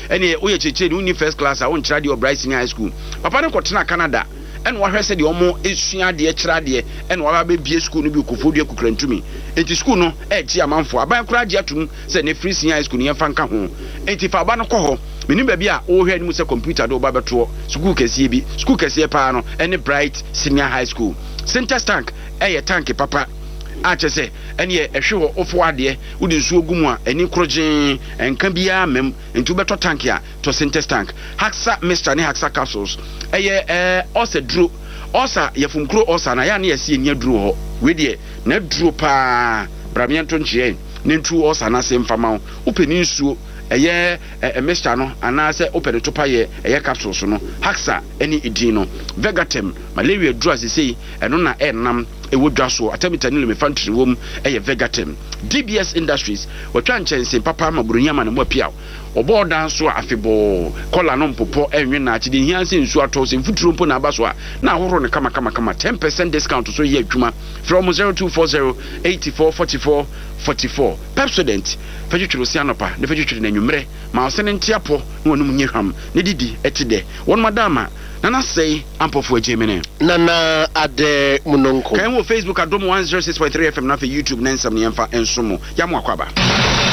Ɛneɛ woyɛ kyerɛkyerɛni wonni first class a wonkyerɛ adeɛ wɔ Bright Senior High School. Papa no kɔtenaa Canada ɛna wahwɛ sɛdeɛ wɔn sua adeɛ kyerɛ adeɛ ɛna waba abɛbue sukuu no bi wɔ Koforidua Kukurantumi. Enti sukuu no ɛregye amanfoɔ. Aban koraa agye atom sɛ ne free senior high school no yɛmfa nka ho. Enti fa wo ba no kɔ hɔ. Mennim baabi a worehwɛ anim sɛ kɔmputa de wo ba bɛtoɔ. Sukuu kɛseɛ bi. Sukuu kɛseɛ paa no ɛne Bright Senior High School. Sintex tank ɛyɛ tank papa a kyerɛ sɛ ɛneɛ ɛhwe hɔ wofoa adeɛ wode nsuo gu mu a ani korogyee ɛnka biara mma mu. Enti wobɛtɔ tank a tɔ Sintex tank. Haxa mixture ne Haxa capsules ɛyɛ ɛɛ ulcer duro. Ulcer, yafumkuro ulcer no ayɛ a na yɛse yɛnni aduro wɔ hɔ. Wei deɛ n'aduro paa. Bra meɛnto nkyeɛ na ntu ulcer no ase mfa ma wo. Wopɛ ne nsuo ɛyɛ ɛɛ mixture no anaasɛ wopɛ ne topayɛ ɛyɛ capsules no. Haxa ɛne edin no. Vegatem, malaria duro a sesei ɛno na ɛnam ɛwɔ dwa soɔ. Artemether ne lumefantrine wɔ mu ɛyɛ Vegatem. DBS Industries, wɔatwa nkyɛnsee papa ama buroni ama ne mo apiaw. Wɔbɔ ɔdan so a, afebɔɔ, kɔla no mpopɔ, ɛnwe nnaakye, deɛ ehia ara sɛ nsuo atɔ, sɛ mfuturo mpo na aba so a, na ahohoro no kamakamakama. 10% discount nso yɛ adwuma. Frɛ wɔn 0240 84 44 44. Pepsodent, fa twitwiri wo se anɔpa na fa twitwiri no anwummerɛ. Ma wo se no nte apɔ na w'anom nyɛ hwam na didi te dɛ. Wɔnom adaama. Nana Sɛe Ampɔfoɔ Agyemene. Nana Adɛ Munonko. Ka yɛn ho wɔ Facebook Adom 106.3 FM na afei YouTube ne nsɛm no yɛmfa nsom mo. Yɛamo akwaaba.